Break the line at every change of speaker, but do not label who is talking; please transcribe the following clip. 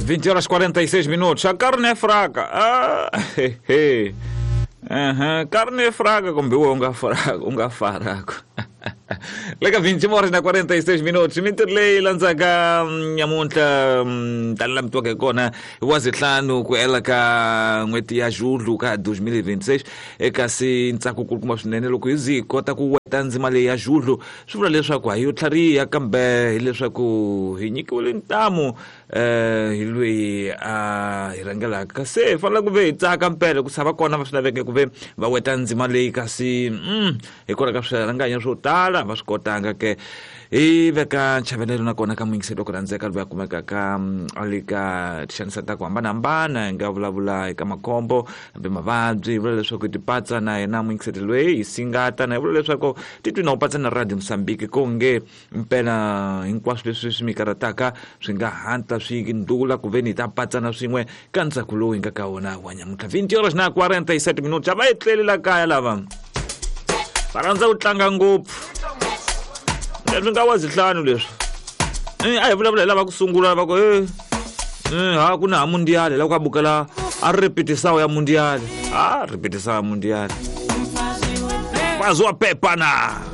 20 horas 46 minutos. A carne é fraca. Ah, he, he. Uhum. Carne é fraca, kumbe u nga fraco, u nga faraco. Le ka 20 horas na 46 minutos. Mintirho leyi landzaka nyamuntlha tani la mi twaka hi kona hi wa zihlanu ku hela ka n'hweti ya Julho ka 2026 kasi ntsako kulukumba swinene loko hi zi hi kota ku weta ndzima leyi ya Julho swi vula leswaku a hi yo tlhariha kambe hileswaku hi nyikiwile ntamu hi loyi a hi rhangelaka se hi fanele ku ve hi tsaka mpela ku tshava kona va swi laveke ku ve va weta ndzima leyi kasi hikwalaho ka swirhanganya swo tala va swi kotanga ke hi veka nchavelelo nakona ka muyingiseri wa ku rhandzeka loyi a kumekaka a le ka tixanisa ta ku hambanahambana hi nga vulavula eka makhombo kumbe mavabyi hi vula leswaku hi tipatsa na yena muyingiseri loyi hi singata na hi vula leswaku titwi na u patsa na Radio Mosambiki ko nge mpela hinkwaswo leswi swi mi karhataka swi nga hatla swi ndlula ku veni hi ta patsana swin'we ka ntsako lowu hi nga ka wona wa nyamuntlha. 20 horas na 47 minutos. A va etleli la kaya lava va rhandza ku tlanga ngopfu. Leswi nga wa zihlanu leswi a hi vulavula hi lava ku sungula va ku e ha ku na ha mundiale la ku a bukela a repetisawo ya mundiale a repetisawo ya mundiale. Fazi wa pepa na.